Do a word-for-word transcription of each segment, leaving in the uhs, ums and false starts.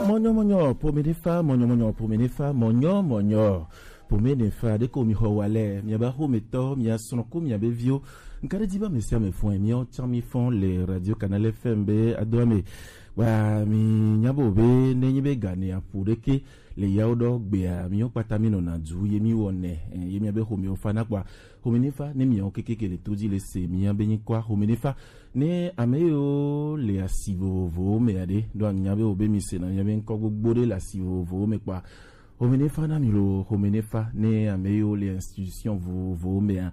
Mɔnyɔmɔnyɔ pomenefa, mɔnyɔmɔnyɔ pomenefa, mɔnyɔmɔnyɔ pomenefa. Ɖeko mi xɔ wa lɛ, miaba xometɔ, mia srɔ̃ ko mia be viwo. Nka ɖe dzi ba mesi ame fɔn, miawo tsã mi fɔn le Radio Canal F M be adoa me. Wa mi nya bo be ne nyi be gane aƒo ɖeke le yawo ɖɔ gbea, miwo kpata mi nɔna du ye mi wɔnɛ, eh, ye mia be xomewo fa na kpɔa. Xomenefa ne miawo kekeke le to dzi le se mia be nyikɔa. Xomenefa ne ame yiwo le asi vovovowo me aɖe, ɖo anya be wo be mi sena mia be ŋkɔ gbogbo ɖe le asi vovovowo me kpɔa. Xomenefa na mi lo, xomenefa ne ame yiwo le institution vovovowo mea.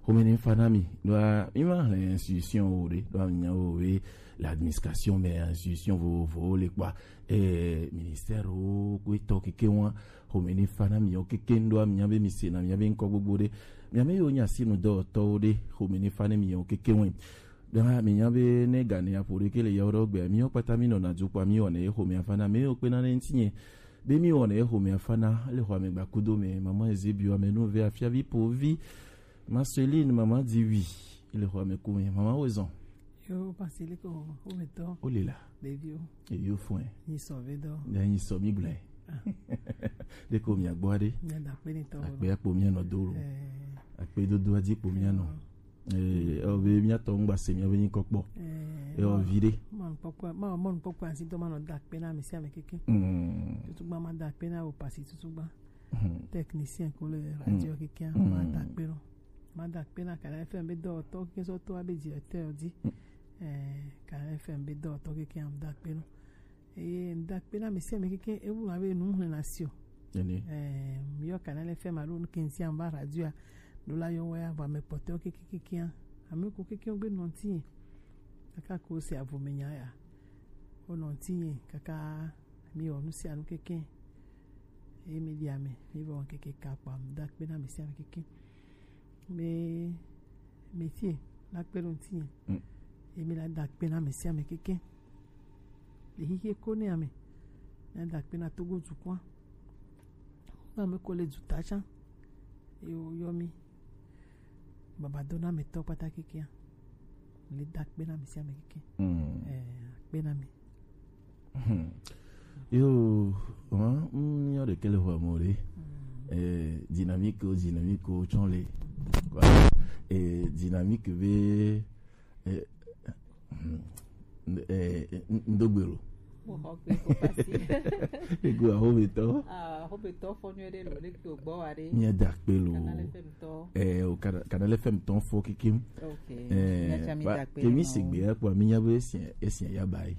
Xomenefa na mi, ɖoa mi ma hle institution wo ɖe, ɖoa mi nya wo be le administration me institution vovovowo le kpɔa. Eh, ministère wo ko etɔ keke wa. Xomenefa na mi wo keke ɖoa mi nya be mi sena mia be ŋkɔ gbogbo ɖe. Mia me yiwo nya sinu dɔwɔtɔwo ɖe, xomenefa ne mi wo keke wa. Ɖe hã, mi nya be ne gane aƒo ɖeke le yawo ɖɔ gbea, miwo kpata mi nɔna du kpɔa, mi wɔnɛ ye xomea fana, mi wo kpena ne ŋutinye. Be mi wɔnɛ ye xomea fana, le xɔ ame gbakudo me, mama Ezebio, ame nu ve afiavi povi, Marceline, mama Diwi, le xɔ ame ku me, mama Wezɔn. Yo, Pasiliko, wo me tɔ. O le la. Ɖeviwo. Eyo fɔe. Nyi sɔ ve dɔ. Ne nyi sɔ mi gblɔe. Ah. Ɖeko mia gbɔ aɖe. Mia da akpe ni tɔ. Akpe akpo mia nɔ do lo. Eh. Akpe dodo adzi kpo mia nɔ. Eh, o be mia tɔ ŋgba se mia be nyikɔ kpɔ. Eh, e o vi ɖe. Ma nukpɔkpɔ, ma, ma nukpɔkpɔ asi dɔ ma nɔ da akpe na ame sia ame keke. Mm. Tutugba ma da akpe na o pasi tutugba. Mm. Technicien ko le radio keke ma da akpe no. Ma da akpe na Canal F M be dɔwɔtɔ keke sɔ to abe directeur di. Mm. Eh, Canal F M be dɔwɔtɔ keke ma da akpe no. Eye ŋda akpe na ame sia ame keke ewu abe nu ŋlẽ na si o. Ene. Eh, mi yɔ Canal F M alo nu ke ŋuti ava radio a, ɖo la yɔ wɛ ava ame kpɔtɔewo keke keke a. Ame ko keke wo gbe nɔ ŋuti ye. Kaka ko se avo me nya ya. Wo nɔ ŋuti ye kaka mi wɔ nu sia nu keke. Eye mi ɖi ame, mi vɔ keke ka kpa ŋda akpe na ame sia ame keke. Be métier la kpe ɖo ŋutinye. Mm. Ye mi la da akpe na ame sia ame keke. Le xixie ko ne ame. Na da akpe na Togo dukɔa. Na ame ko le duta tsã. Ye wo yɔ mi. Baba do na ame tɔ kpata kekea. Le da akpe na ame sia ame keke. Mm. Eh, akpe na mi. Hmm. Yo, hein, mm, yo de kele ho amore. Eh, dynamique, dynamique, tsɔn le. Quoi. Eh, dynamique be, eh, hmm, eh, n-, n-, ndogbero. Mo xɔ gbe ko pasi. Ego ahometɔ. Ah, ahometɔ fɔ nyuie ɖe lo, le kpe gbɔ wa ɖe. Mia da akpe lo. Canal F M tɔ. Eh, o Canal, Canal F M tɔ fɔ kikim. Ok. Eh, mia tsa mi ba, da akpe kemi na wo. Sigbe ya kpɔ, mi nya be esia, esia ya ba yi.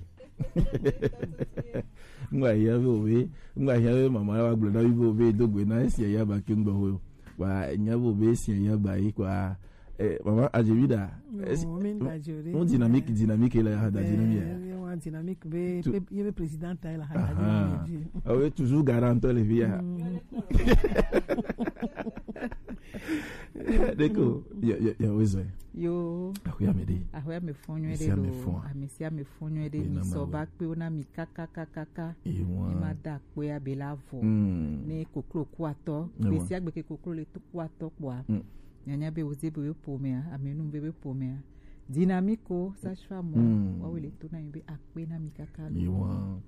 Ŋgba hia be obe, ŋgba hia be mama wa gblɔ na mi be obe do gbe na esia ya ba ke ŋgba ho. Wa nya be obe esia ya ba yi kwa. Eh, mama Ajevida. Oh, esi-, mi da jore. Un dynamique, dynamique la ya da dynamique. Eh, wa dynamique be, tu- be, ye be président ta la ha da dynamique. Ah oui, toujours garant le via. Mm. Deko, ya, ya, ya, wezo. Yo. Ahoya me de. Ahoya me fɔ nyuie ɖe lo. Ame sia ame fɔ nyuie ɖe. Ame sia ame fɔ nyuie ɖe. Ena mi sɔ ma ba kpe wo na mi kaka, kaka, kaka. Ewa. Mi ma da akpe ya be la vɔ. Mm. Ne koklo ku atɔ. Ewa. Gbe sia gbe ke koklo le to ku atɔ kpɔa. Mm. Nyanya be woze be be pomea, ame nu be be pomea. Dynamique o, sage-femme o. Mm. Wa wo le to na mi be akpe na mi kaka lo. Ewa.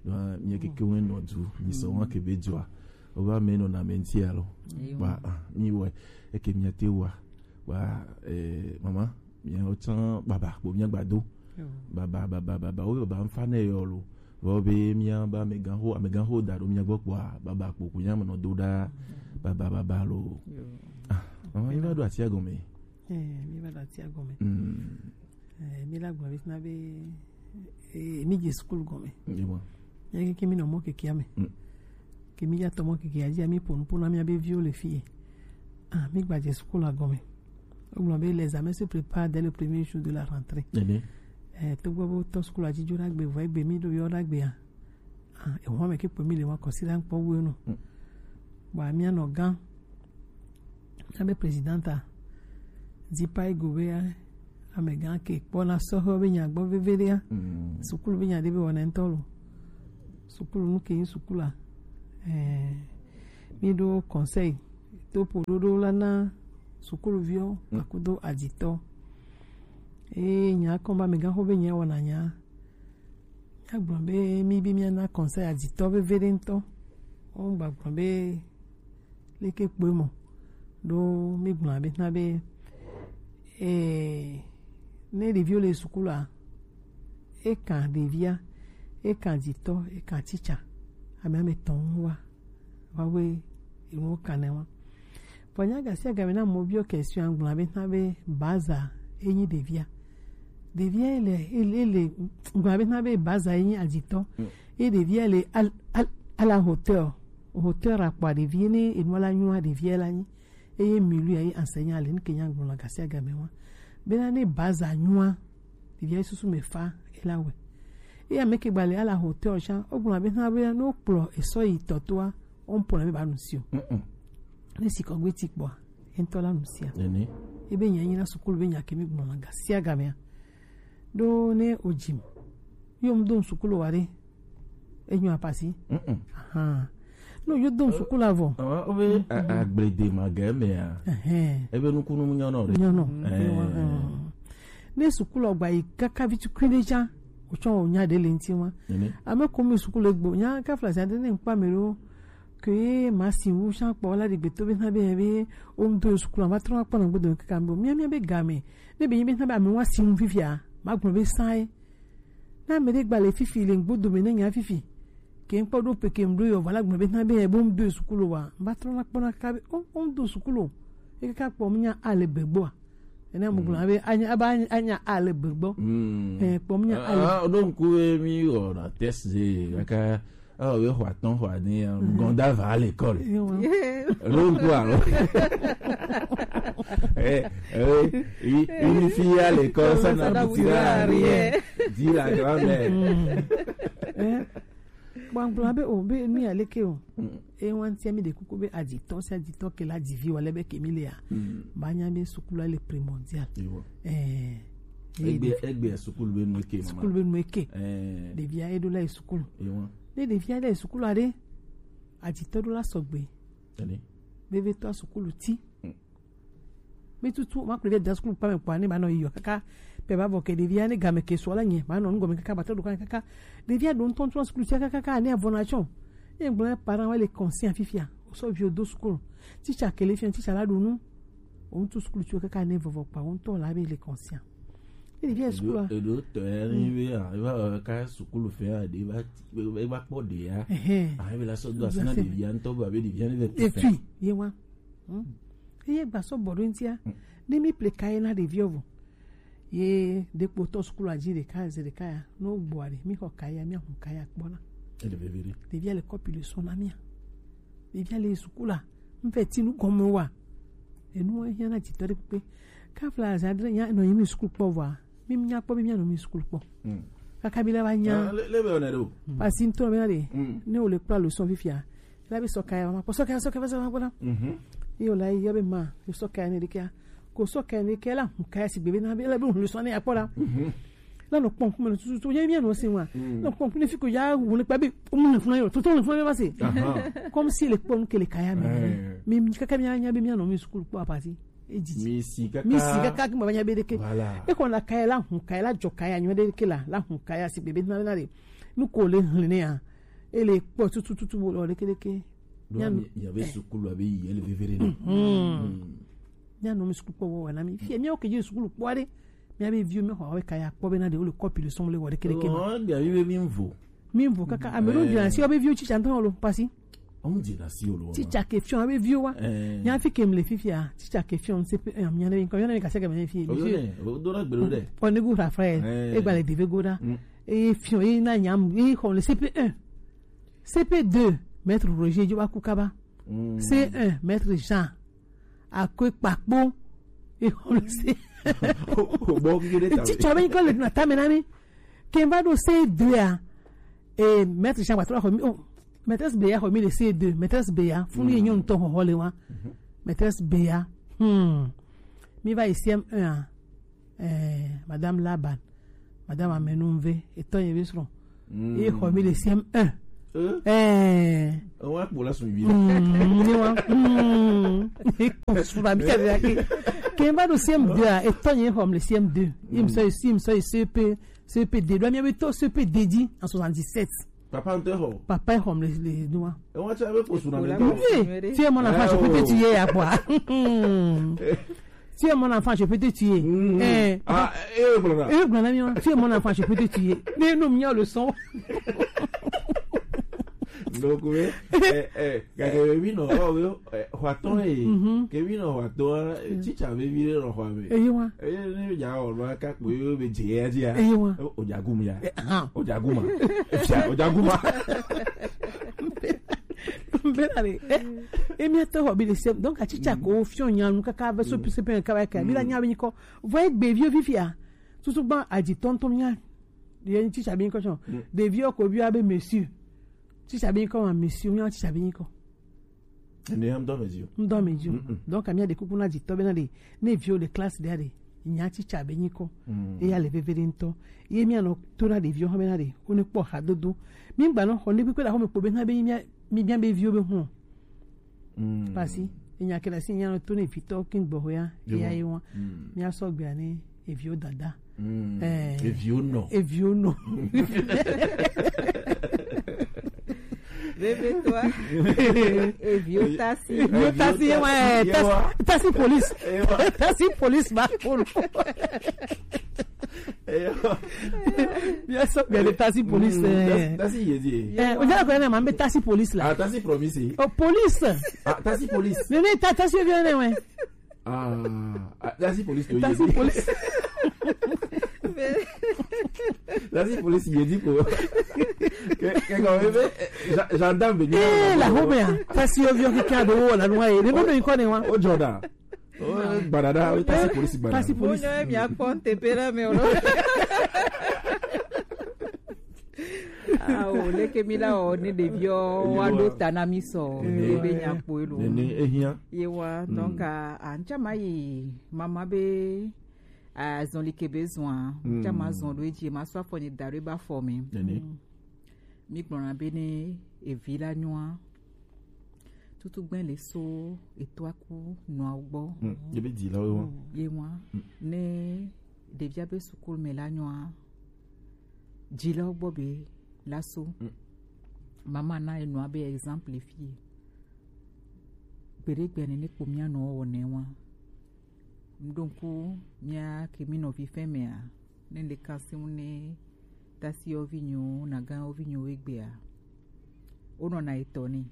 Wa mi keke wen no du, mi so wa ke be jua. O ba me no na me nti alo. Ewa. Ba, ah, mi we. Eke mi ate wa. Wa, eh, mama, mi o tsan baba, bo mi agbado. Yo. Baba, baba, baba, o baba nfa ne yo lo. Vɔ be mia ba amegãxo, amegãxo da ɖo mia gbɔ kpɔa, baba kpo ku nya me nɔ do ɖa, baba, baba lo. Yo. Ah, mama, mi va ɖo atia gɔme. Eh, mi va ɖo atia gɔme. Mm. Eh, mi la gblɔ be na be, eh, mi dze sukulu gɔme. Ye ma. Ya ke, ke mi nɔ mɔ kekea me. Mm. Ke mi ya tɔ mɔ kekea dzi, mi ƒo nu ƒo na mia be viwo le fie. Ah, mi gba dze sukulu gɔme. Wogblɔ be les examens se préparent dès le premier jour de la rentrée. Ene. Eh, togbɔ be wotɔ sukulu dzi dzo ɖagbe, vɔ egbe mi ɖo yɔ ɖagbea. Ah, eho ame ke kpɔ mi le wa kɔsi la kpɔ wo no. Mm. Bɔ mia nɔ gã. Mia be présidenta. Di pa ego be amegã ke kpɔ na sɔhɛ be nya gbɔ veve ɖea. Mm. Sukulu be nya ɖe be wɔna ŋutɔ lo. Sukulu nu ke yin sukulu a. Eh, mi ɖo conseil. To ƒo ɖoɖo la na sukuluviwo, mm, akudo adzitɔ. Eye nya kɔ be amegãxo be nya wɔna nya. Agblɔ be mi be miana conseil aditɔ veve ɖe ŋutɔ. Wogba gblɔ be leke kpoe mɔ ɖo mi gblɔ abe na be eh, ne ɖeviwo le sukulu a, eka ɖevia, eka aditɔ, eka tsitsa, ame ame tɔn wa. Wawe enuwo kanɛ wa. Vɔ nya gasi agame na mɔ biɔ question agblɔ abe na be baza enyi ɖevia. Ɖevia ele ele ele gblɔ abe na be baza enyi aditɔ. Ye ɖevia le al, al, à la hauteur. Hauteur akpa ɖevia ne enu la nyua ɖevia la nyi. Eye milu ya ye enseignant le nke nya gblɔ la gasi agame wa. Bena ne baza nyua ɖevia susu me fa ela we. Eye ame ke gba le à la hauteur sha o gblɔ abe na be no kplɔ esɔ yi tɔtoa o mpɔ na be ba nu si o. Ne si kɔgbe ti kpɔa, entɔ la nu sia. Ebe nya nyina sukulu be nya kemi gblɔ la gasi agame. Ɖo ne o jim. Yo mdo sukulu wa ɖe. Enyo apasi. Aha. No yo do sukulu avɔ. Awa o be agblede ma ge me ya. Ebe nukunu mu nyɔnɔ ɖe. Nyɔnɔ. Ne sukulu gba yi kaka vitu kwinde ja. O tsɔ o nya ɖe le ŋti ma. Ame ko mi sukulu egbo nya ka flasi ade ne nkpa me ɖo. Ke ma si wu sha kpɔ la ɖi gbeto be na be be o ŋdo sukulu va trɔ kpɔ na gbedo kaka mbo mia mia be game ne be yi be na be ame wa si wu fifia ma gblɔ be sae. Na ame ɖe gba le fifi le ŋgbodo me ne nya fifi ke ŋkpɔ ɖo pe ke ŋɖo yɔ va la gblɔ be na be bo ŋdo sukulu wa va trɔ na kpɔ na kaka be o o ŋdo sukulu e kaka kpɔ mia ale be gboa. Ene mo gblɔ be anya aba anya ale be gbɔ. Eh kpɔ mia ale. Ah, donc oui, mi on a testé kaka Ah, we xɔ atɔn xɔ ade ya. Gɔnda va à l'école. Rongo alors. Eh, eh, une fille à l'école, ça n'aboutira à rien. Dit la grand-mère. Bon, bon, abe o be mi aleke o. E wan ti mi de kuku be aditɔ si aditɔ ke la divi wala be ke mi le ya. Ba nya be sukulu le primordial. Eh. Egbe egbe sukulu be nu ke mama. Sukulu be nu ke. Eh. Ɖevia eɖo la sukulu. Ne ɖevia le sukulu aɖe, aditɔ ɖo la sɔgbe. Vevitɔ sukulu ti. Mi tutu ma kple ɖevia da sukulu kpame kpɔa ne ba nɔ yiyɔ kaka pe ba vɔ ke ɖevia ne game ke sɔ la nye ba nɔ nugɔme kaka ba tɔ ɖo kaka. Ɖevia ɖo ŋutɔ ŋutɔ sukulu ti kaka kaka ne avɔ na tsɔ. Ye gblɔ parent wa le conscient fifia. O sɔ vi o do sukulu. Teacher ke le fia teacher la ɖo nu. O ŋutɔ sukulu ti kaka ne vɔvɔ kpa o ŋutɔ la be le conscient. Ɖevi ya sukulu a. Eɖo tɔ ya ni be a eva ka sukulu fɛ a ɖe va eva kpɔ ɖe ya. Ahe be la sɔ do asi na ɖevi ya ŋutɔ be abe ɖevi ya ne le tu fɛ. Efi ye wa. Eye gba sɔ bɔ ɖo ŋutia. Ne mi ple ka ye na ɖevi ɔvo. Ye ɖe kpotɔ sukulu adzi ɖeka ze ɖeka ya. No gbɔ aɖe mi xɔ ka ya mi ahu ka ya kpɔ na. Ele veve ɖe. Ɖevi ya le kɔpi le sɔ na mia. Ɖevia le sukulu a, mfɛ ti nu gɔme wa. Enu hiã na dzitɔ ɖe kpekpe. Kafla azã adre nya nɔ yimi sukulu kpɔ vɔa. Mi nya kpɔ bi mia nɔ mi sukulu kpɔ. Kaka bi la va nya. Le be one do. Pasi ntɔ be na de. Ne o le kpla leçon fifia. La be sɔka ya ma kpɔ sɔka sɔka sɔka ma kpɔ la. Yo la ya be ma, yo sɔka ne de kia. Ko sɔka ne ke la, ka ya si gbe be na be la be leçon ne ya kpɔ la. La nɔ kpɔm kuma tututu nye mia nɔ se wa. Nɔ kpɔm kuma fi ko ya wule kpa bi mu ne funa yo. Toto ne funa ba se. Comme si le kpɔm ke le kaya mi. Mi kaka mi anya bi mi anɔ mi sukulu kpɔ apasi. Eji. Mi si kaka. Mi si kaka ki ma nya be de ke. Voilà. E ko la kaya la hun kaya la jɔ kaya nyo de ke la. La hun kaya si be be na na de. Nu ko le hun ne ya. E le kpɔ tututu bo le ke de ke. Mia be sukulu abe yi ele vevere ne. Mia nɔ mi sukulu kpɔ wɔ na mi. Fi mi o ke ji sukulu kpɔ de. Mia be viwo mi xɔ awe kaya kpɔ be na de o le kɔpi le sɔn le wɔ de kele kele. Oh, bia mi be mi vo. Mi vo kaka ame ɖo dina si o be viwo tsitsa ntɔ lo pasi. Ɔmu dina si o lo. Tsitsa ke fiɔ be viwo wa. Nya fi ke mle fifia tsitsa ke fiɔ se pe nya ne ko ne ka se ke me fi. O do na gbero de. O ne gu ra frère. E gba le deve goda. E fiɔ e na nyam e xɔ le C P un. C P deux, maître Roger Djobaku Kaba. C un, maître Jean. Akwe Kpakpo. Et on le sait. Bon, qui est. Teacher, ben, quand le na tamena mi. Kemba do C deux a. Et maître Jean Patro a remis. Oh, maîtresse Béa a remis le C deux. Maîtresse Béa. Fou ni nyon ton ho le wa. Maîtresse Béa. Hmm. Mi va ici M un. Eh, Madame Laban, Madame Amenunve, etɔ ye be srɔ̃. Ye xɔ mi le C M un. Eh. Wa kpo la sun vi. Ni wa. Ni ko sura mi ka de ake. Ke n va ɖo C M deux a, etɔ nye xɔm le C M deux. Ye m sɔ yi, ye m sɔ yi C P, C P D. Ɖo mía be to C P D dzi en soixante-dix-sept. Papa ŋutɔ xɔ. Papa xɔm le, le nua. Ewa tsa be posu na me. Oui, tu es mon enfant, je peux te tuer, à quoi? Tu es mon enfant, je peux te tuer. Eh, ah, eh, voilà. Eh, voilà, mia. Tu es mon enfant, je peux te tuer. Mais non, mia le son. Donc, oui, eh, eh, gake be bi nɔ, oh, oui, eh, xɔatɔ ye. Ke bi nɔ xɔatɔ, eh, tsitsa be bi ɖe nɔ xɔa me. Eyi wa. Eh, ne ya o nɔ ka kpo yo be je ya dzi ya. Eyi wa. O ja gum ya. Eh, ah. O ja gum ma. Efia, o ja gum ma. Bena le. Eh, e mia to xɔ bi le sem. Donc, a tsitsa ko fiɔ nya nu kaka be so pise pe kaba ka. Bi la nya be nyikɔ. Vɔ egbe vi o fifia. Tutu gba aji tɔntɔn mia. Ye tsitsa be nyikɔ tsɔ. Ɖeviwo ko bi abe monsieur. Tsitsa be nyikɔ ma monsieur, mia tsitsa be nyikɔ. Ene ya ŋdɔ me dzi o. Ŋdɔ me dzi o. Donc, amia ɖe kuku na dzitɔ be na ɖe, ne viwo le classe ɖe ɖe, nya tsitsa be nyikɔ. Eya le veve ɖe ŋutɔ. Ye mia nɔ to na ɖeviwo hã be na ɖe, wo ne kpɔ hadodo. Mi gba nɔ xɔ ne kpekpe ɖe xɔ me kpo be na be mia, mi bia be viwo be hɔn. Pasi, enya ke ɖe asi nya nɔ to ne vitɔ kin gbɔ ya, eya ye wa. Mia sɔ gbea ne eviwo dada. Eh, eviwo nɔ. Eviwo nɔ. Bébé toi. Eviwo tasi. Eviwo tasi, ye wa, eh, tasi, tasi police. Tasi police ba kono. Bien sûr, bien le tasi police. Tasi ye di. Eh, o ja ko na ma be tasi police la. Ah, tasi promise. Oh, police. Ah, tasi police. Ne ne ta tasi bien ne we. Ah, ah, la si police to Tasi ye. Police. La si police ye di ko. Ke ke ko be gendarme be ni. Eh, la ho me a. Tasi yo vio ke ka do wo la nwa ye. Ne bo no iko ne wa. O joda. O gbadada, o tasi police gbadada. Tasi police. Mo nyo mi a konte pera me o. Ah, o leke mi la o ne ɖeviwo wa ɖo ta na mi sɔ be be nya kpo elo. Nene ehia. Ye wa donc a ntsa ma yi mama be azɔn like be zɔn a ntsa ma zɔn ɖo edzi ma sɔ afɔ nye da ɖo eba fɔ me. Nene. Mi gblɔna be ne evi la nyoa tutu gbɛ le so eto aku nɔa gbɔ. Ye be di la wo. Ye wa ne ɖevia be sukulu me la nyoa dzilawo gbɔ be laso. Mama na enɔa be exemple fie. Gbeɖe gbe ne ne kpo mia nɔ wɔ ne wa. Ŋɖo ŋku mia ke mi nɔvi fɛn mea ne le kasi ŋu ne tasi yɔvi nyo na gan yɔvi nyo egbea. Wonɔna etɔ ne.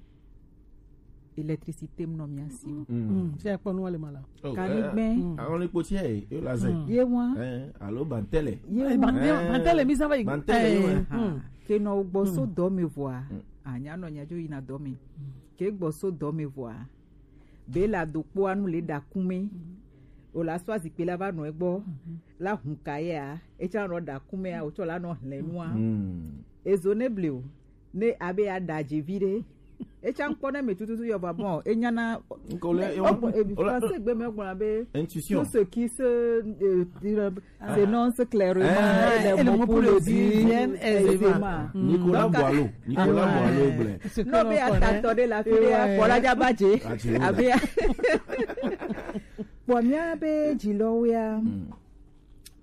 Électricité mu nɔ mia si o. Mm. Si akpɔ nu wale mala. Oh, kanigbɛ. Eh, eh, àwọn epo tí ẹ yóò la zẹ. Ye wọn. Eh, alo bantẹlẹ. Ye wọn. Bantẹlẹ mi sábà yìí. Bantẹlẹ yóò wẹ. Ke nɔ gbɔ so dɔ me vɔa. Anya nɔ nya jo yina dɔ me. Ke gbɔ so dɔ me vɔa. Be la do kpo anu le da kume. O la sɔ azikpe la va nɔ egbɔ. La hun ka ye a. Etsa nɔ da kume a. O tsɔ la nɔ hlɛ nua. Ezo ne ble o. Ne abe ya da dzi vi ɖe. Etsa ŋkpɔ ne me tututu yɔ va bɔn enyana. Ŋkɔ le français gbe me gblɔ be intuition. Tout ce qui se euh, s'énonce clairement et les mots pour le dire aisément. Nicolas Boileau. Nicolas Boileau gblɛ. No be atatɔ ɖe la fi ɖe akɔ la dza ba dze. Abe ya. Kpɔ mía be dzilɔwo ya.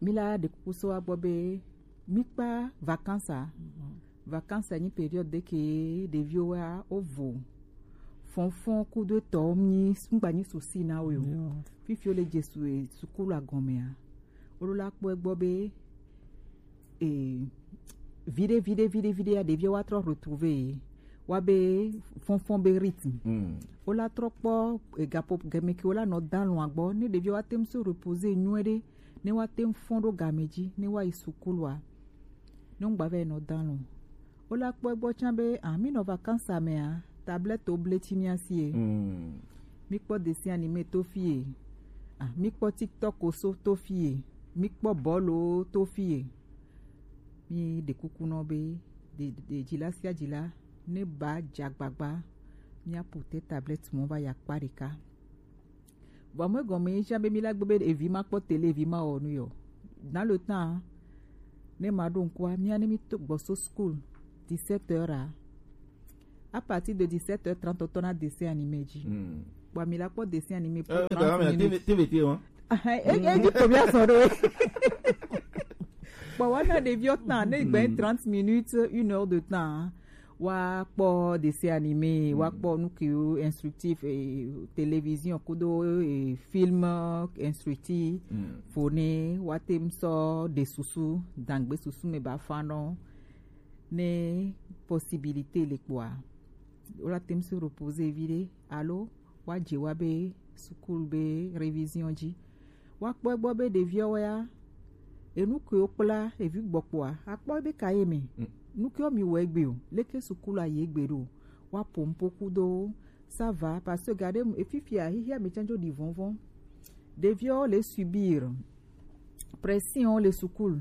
Mi la ɖe kuku so agbɔ be mi kpa vacances a. Vacances nyi période ɖe ke ɖeviwo wa wo vo. Fɔnfɔn kudo etɔwo mi ŋgba nyi souci na wo o. Fifi wo le jesu e sukulu agɔmea. Wo ɖo la kpɔ egbɔ be e viɖe viɖe viɖe viɖe ya ɖeviwo wa trɔ retrouver ye. Wa be fɔnfɔn be rythme. Wo la trɔ kpɔ e gapo gɛmɛ ke wo la nɔ dalɔn agbɔ ne ɖeviwo wa tem so reposer nyuie ɖe. Ne wa tem fɔn ɖo game dzi ne wa yi sukulua. Ne ŋgba vɛ nɔ dan lo. Wo la kpɔ egbɔ tsã be ah mi nɔ vacances mea tablette wo ble tsi mia sie. Mi kpɔ dessin animé to fie. Ah mi kpɔ TikTok wo so to fie. Mi kpɔ bɔlu wo to fie. Mi ɖe kuku nɔ be de de dzila sia dzila ne ba dza gbagba mia pu te tablette mɔ va ya kpa ɖeka. Vɔ me gɔme ye sia be mi la gbe be evi ma kpɔ télé evi ma wɔ nu yɔ. Dans le temps ne ma ɖo ŋkua mia ne mi to gbɔ so school dix-sept heures a. À partir de dix-sept heures trente tɔ na dessin animé dzi. Bon mi la kpɔ dessin animé pour trente minutes. T V T wa. Ah, e, e, di combien son do? Bon, on a des vieux temps, ne gagne trente minutes, une heure de temps. Wa kpɔ dessin animé, wa kpɔ nu ke instructif, eh, télévision kudo, eh, film instructif. Fo ne wa tem sɔ de susu, dangbe susu me ba fanɔ. Ne possibilité le kpɔa, wala tem se reposer vide. Alo wa je wa be sukulu be révision ji. Wa kpɔ egbɔ be ɖeviɔ wɛa, enu ke wo kpla evi gbɔkpɔa, akpɔ be ka ye me. Nu ke wo mi wɔ egbe o, leke sukulu ayi egbe ɖo. Wa pompo kudo, ça va, parce que gade efifia hihia me tsanjo di vɔnvɔn. Ɖeviɔ le subir pression le sukulu.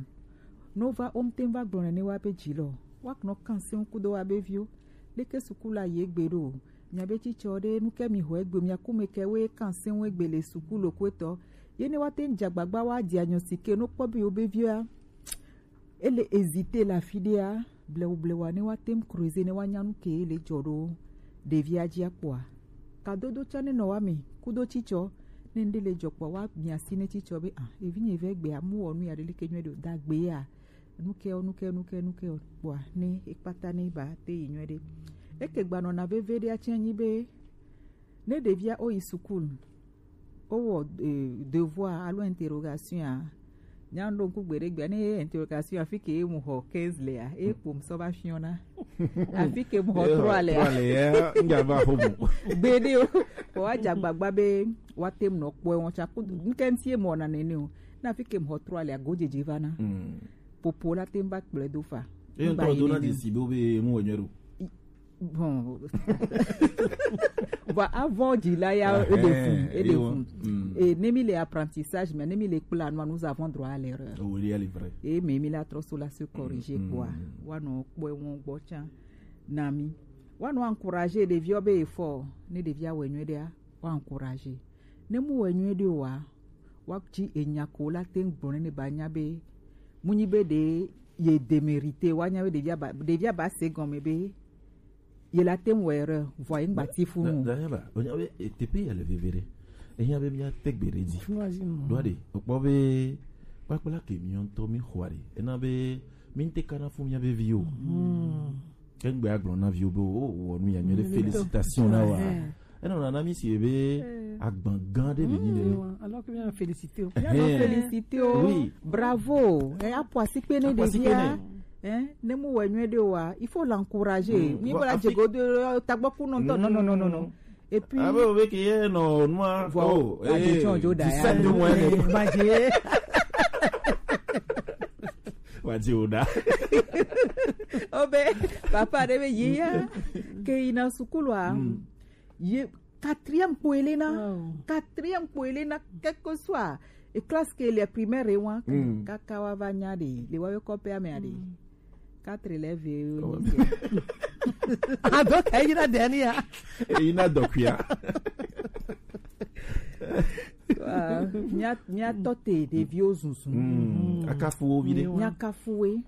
No va omte va gblɔ nene wa be dzi lɔ. Wa knɔ kan se kudo wa be viwo. Leke sukulu ayi egbe ɖo. Mia be tsitsɔ ɖe nu ke mi ho egbe mia kume ke we kan se egbe le sukulu ko etɔ. Ye ne wa te dza gbagba wa diagnostic no kpɔ be yo be via. Ele hésiter le afi ɖea, blewu blewu ne wa tem creuser ne wa nya nu ke le dzɔ ɖo ɖevia dzi akpɔa. Kadodo tsã ne nɔ wa me kudo tsitsɔ ne ŋɖe le dzɔ kpɔa wa mia si ne tsitsɔ be ah evi nye ve gbea mu wɔ nu ya ɖe leke nyuie ɖo da gbe ya nu ke o nu ke nu ke nu ke o kpɔa ne ekpata ne ba te yi nyuie ɖe. Eke gbanɔna veve ɖe atsɛ nyi be ne ɖevia o yi sukulu. Wowɔ, eh, devoir alo interrogation a. Nya ɖo ŋku gbeɖe gbea ne ye interrogation afi ke ye mu xɔ quinze lea, ye kpo mu sɔ va fiɔna. Afi ke mu xɔ trois lea. Trois lea, ŋdza va xo mu. Gbeɖe o. Ko wa dza gbagba be wa tem nɔ kpɔe wɔn tsa ku ŋkɛ ŋti ye mɔ na nene o. Na afi ke mu xɔ trois lea go dzedze va na. Popo la tem va kplɔe do fa. Ye ŋtɔ do na desi be wo be mu wɔ nyuie ɖo. Bon. Bon, avant de là, il y a des fonds, et des fonds. Et ne mi les apprentissages, mais ne mi les plans, nous avons droit à l'erreur. Oui, il y a les vrais. Et mais mi la trop sur la se corriger quoi. Wa no kpɔ won gbo chan. Na mi. Wa no encourager des vieux be effort, ne des vieux wenye de wa encourager. Ne mu wenye de wa, wa ti enya ko la ten gbɔn ne ba nya be mu nyi be de ye démérité wa nya be ɖevia ba ɖevia ba se gɔme be ye la tem wɔ erreur vɔ ye ŋgbati fu nu. Dayaba o nya be tepe ya le veve ɖe enya be mia te gbe ɖe dzi ɖo aɖe o kpɔ be kpakpla ke mi ŋutɔ mi xɔ aɖe ena be mi ŋte kana fu mia be vi o. Ke ŋgbe agblɔ na viwo be o wɔ nu ya nyuie ɖe félicitation na wa. Ena na mi si be agban gan ɖe be nyi ne. Alors que bien féliciter. Bien féliciter. Oui. Bravo. E apo asikpe ne ɖevia. Hein, ne mu wɔ nyuie ɖe wa, il faut l'encourager. Ni bola djego de tagbɔku non non non non non. Et puis abe o be ke ye no nua. Voilà. Oh, eh, dix-sept de moyenne. Ba je. Wa di o da. Obe papa de be ye ya. Ke ina sukulu a. Ye quatrième kpo ele na. Quatrième kpo ele na, quel que soit e classe ke le primaire e wan. Kaka wa va nya de le wa yo kope ame ade. Quatre élèves. Ah donc e yina denia. E yina dokuya. Mia mia tote de vieux zunzun. Akafuwo vide. Mia kafuwe.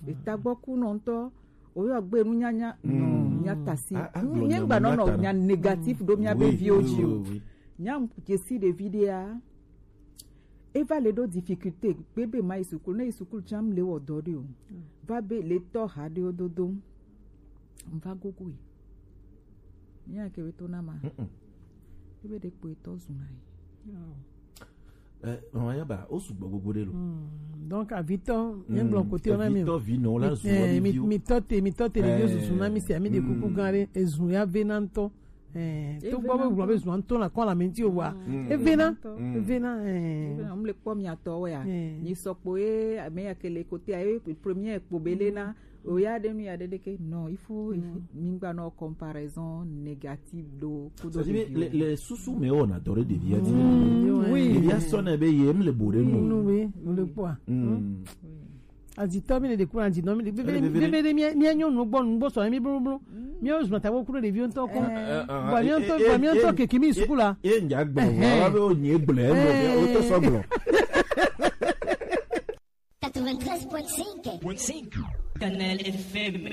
E tagbɔku nɔntɔ. Oyo gbe nu nyanya no nya tasi. Nye gba no no nya négatif do mia be vi oji o. Nya jesi de vidéo. Eva le do difficulté bebe ma isukulu ne isukulu cham le wo do de o. Va be le to ha de o dodo. Va gogo e. Nya ke be to na ma. Ebe de po to zuna e. Eh, mama yaba o sugbɔ gbogbo ɖe lo. Donc avitɔ ye gblɔ kote na mi. Vitɔ vi nɔ la zu mi vi. Mi tɔ te mi tɔ te le yo susu na mi se mi de kuku gan ɖe ezu ya ve na ŋtɔ. Eh, to gbɔ be gblɔ be zu ŋtɔ na kɔ la mi ti o wa. E ve na e ve na eh. Ŋle kpɔ mi atɔ wɛ ya. Ni sɔkpo ye ame ya ke le kote ya ye premier kpo be le na. Oya ɖe nu ya ɖe ɖeke non il faut il faut mi gba nɔ comparaison négative do kudo. C'est-à-dire les les susu me on adore de vie ti. Oui. Evi asɔ na be ye m le bo ɖe nu. Nu we mu le kpɔa. Azitɔ mi le de kuna zi nɔ mi le bebe bebe de mi mi nyɔ nu gbɔ nu gbɔ sɔ mi blo blo. Mi o zuma ta wo kudo de vi ŋtɔ ko. Ba mi ŋtɔ ba mi ŋtɔ keke mi sukula. Ye ŋdza gbɔ wa be o nye gblɔ o to sɔ gblɔ. Quatre-vingt-treize point cinq. Kanal F M.